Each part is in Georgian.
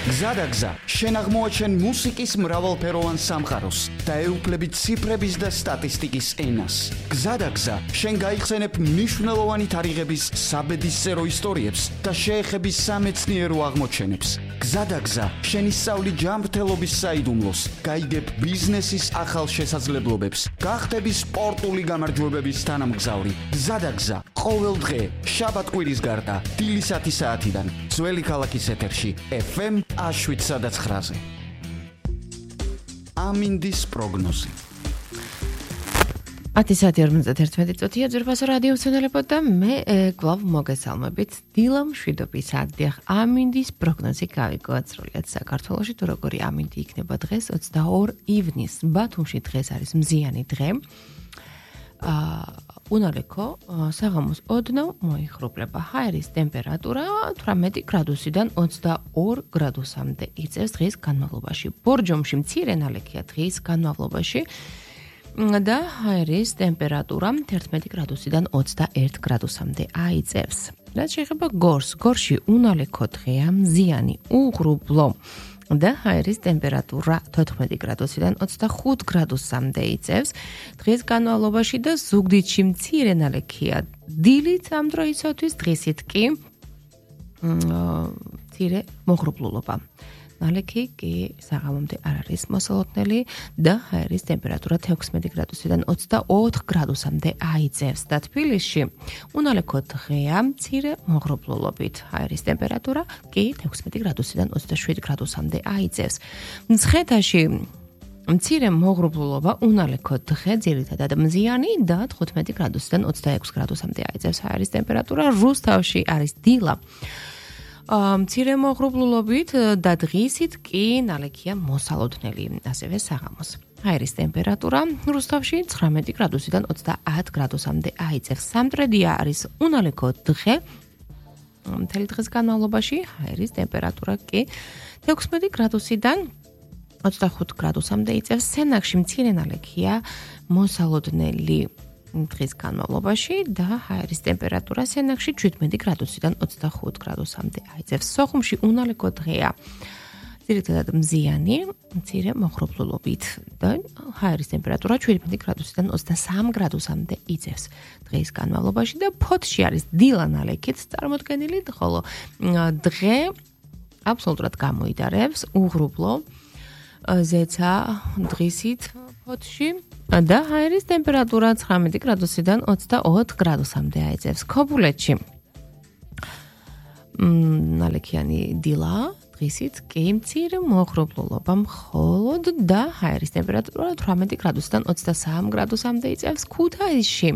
გზადაგზა, შენ აღმოაჩენ მუსიკის მრავალფეროვან სამყაროს და ეუფლები ციფრების და სტატისტიკის ენას. გზადაგზა, შენ გაიხსენებ მნიშვნელოვანი თარიღების საბედისწერო ისტორიებს და შეეხები სამეცნიერო აღმოჩენებს. გზადაგზა, შენ ისწავლი ჯანმრთელობის საიდუმლოს, გაიგებ ბიზნესის ახალ შესაძლებლობებს, გახდები სპორტული გამარჯვებების თანამგზავრი. გზადაგზა, ყოველ დღე, შაბათ-კვირის გარდა, დილის 10 საათიდან, ძველი ქალაქის ეთერში, FM 7-9-ზე. ამინდის პროგნოზი. 10:41 ძვირფასო რადიო მცენელებო და მე გლავ მოგესალმებით დილა მშვიდობის ადრე ამინდის პროგნოზი გავიგოთ სრულიად საქართველოში თუ როგორი ამინდი იქნება დღეს 22 ივნისს ბათუმში დღეს არის მზიანი დღე უნალექო საღამოს ოდნავ მოიხრუპლება ჰაერის ტემპერატურა 18 გრადუსიდან 22 გრადუსამდე იწევს დღის განმავლობაში ბორჯომში მცირე ნალექია დღის განმავლობაში და ჰაერის ტემპერატურა 11 გრადუსიდან 21 გრადუსამდე აიწევს. რაც შეეხება გორში უნალექო დღეა მზიანი უღრუბლო და ჰაერის ტემპერატურა 14 გრადუსიდან 25 გრადუსამდე იწევს. დღის განმავლობაში და ზუგდიდში მცირე ნალექია დილით ამ დროისათვის დღისით კი მცირე მოღრუბლულობა. ნალექი კი საღამომდე არ არის მოსალოდნელი და ჰაერის ტემპერატურა 16 გრადუსიდან 24 გრადუსამდე აიწევს და თბილისში უნალექო დღეა მცირე მოღრუბლულობით ჰაერის ტემპერატურა კი 16 გრადუსიდან 27 გრადუსამდე აიწევს. მცხეთაში მცირე მოღრუბლულობა უნალექო დღე ძირითადად მზიანი და 15 გრადუსიდან 26 გრადუსამდე აიწევს ჰაერის ტემპერატურა. რუსთავში არის დილა მცირე მოღრუბლულობით და დღისით კი ნალექია მოსალოდნელი, ასევე საღამოს. ჰაერის ტემპერატურა რუსთავში 19 გრადუსიდან 30 გრადუსამდე აიწევს. სამტრედია არის უნალექო დღე. მთელი დღის განმავლობაში ჰაერის ტემპერატურა კი 16 გრადუსიდან 25 გრადუსამდე იწევს. სენაკში მცირე ნალექია მოსალოდნელი დღის განმავლობაში და ჰაერის ტემპერატურა სენაკში 17 გრადუსიდან 25 გრადუსამდე აიწევს. სოხუმში უნალექო დღეა ძირითადად მზიანი, მცირე მოღრუბლულობით და ჰაერის ტემპერატურა 17 გრადუსიდან 23 გრადუსამდე იწევს დღის განმავლობაში და ფოთში არის დილა ნალექით წარმოდგენილი, ხოლო დღე აბსოლუტურად გამოიდარებს უღრუბლო ზეცა დღისით ფოთში და ჰაერის ტემპერატურა 19 გრადუსიდან 24 გრადუსამდე აიწევს. ქობულეთში ნალექიანი დილა დღისით კი მცირე მოღრუბლულობა მხოლოდ და ჰაერის ტემპერატურა 18 გრადუსიდან 23 გრადუსამდე იწევს. ქუთაისში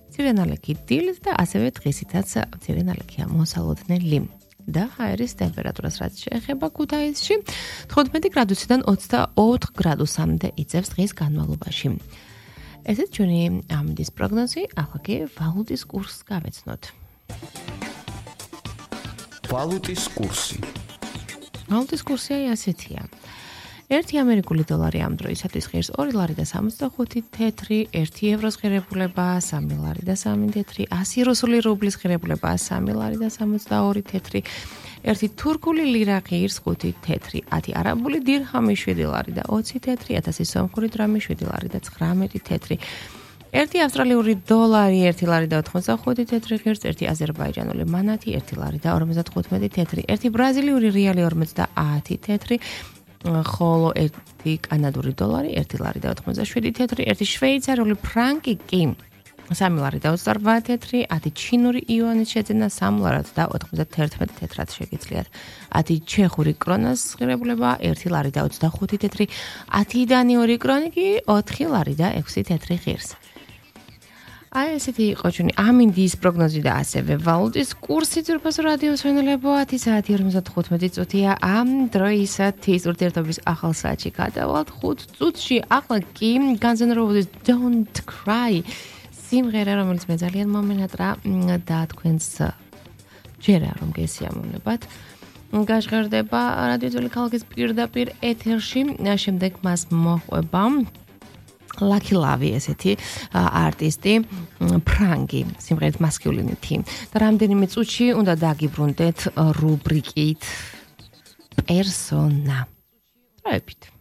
მცირე ნალექი დილით და ასევე დღისითაც მცირე ნალექია მოსალოდნელი და ჰაერის ტემპერატურას რაც შეეხება ქუთაისში 15 გრადუსიდან 24 გრადუსამდე იწევს დღის განმავლობაში. ესეც ჩვენი ამინდის პროგნოზი, ახლა კი ვალუტის კურსს გავეცნოთ. ვალუტის კურსი. ვალუტის კურსი ასეთია. 1 ამერიკული დოლარი ამ დროისათვის ღირს 2 ლარი და 65 თეთრი, 1 ევროს ღირებულება 3 ლარი და 3 თეთრი, 100 რუსული რუბლის ღირებულება 3 ლარი და 62 თეთრი, 1 თურქული ლირა ღირს 5 თეთრი, 10 არაბული დირჰამი 7 ლარი და 20 თეთრი, 1000 სომხური დრამი 7 ლარი და 19 თეთრი. 1 ავსტრალიური დოლარი 1 ლარი და 85 თეთრი ღირს, 1 აზერბაიჯანული მანათი 1 ლარი და 55 თეთრი, 1 ბრაზილიური რეალი 50 თეთრი, ხოლო 1 კანადური დოლარი 1 ლარი და 87 თეთრი, 1 შვეიცარიული ფრანკი კი 3 ლარი და 28 თეთრი, 10 ჩინური იუანის შეძენა 3 ლარად და 91 თეთრად შეგიძლიათ. 10 ჩეხური კრონას ღირებულება 1 ლარი და 25 თეთრი, 10 დანიური კრონი კი 4 ლარი და 6 თეთრი ღირს. აი ესეთი იყო ჩვენი ამინდის პროგნოზი და ასევე ვალუტის კურსი ძვირფასო რადიო მცენელებო 10:55 ამ დროისათვის ურთიერთობის ახალ საათში გადავალთ 5 წუთში ახლა კი განზენეროუდის Don't Cry სიმღერა რომელიც მე ძალიან მომენატრა და თქვენს ჯერა რომ გესიამოვნებათ გაჟღერდება რადიო ძველი ქალაქის პირდაპირ ეთერში შემდეგ მას მოყვება Lucky Love ესეთი არტისტი ფრანგი სიმღერით Masculinity და რამდენიმე წუთში უნდა დაგიბრუნდეთ რუბრიკით პერსონა. დროებით.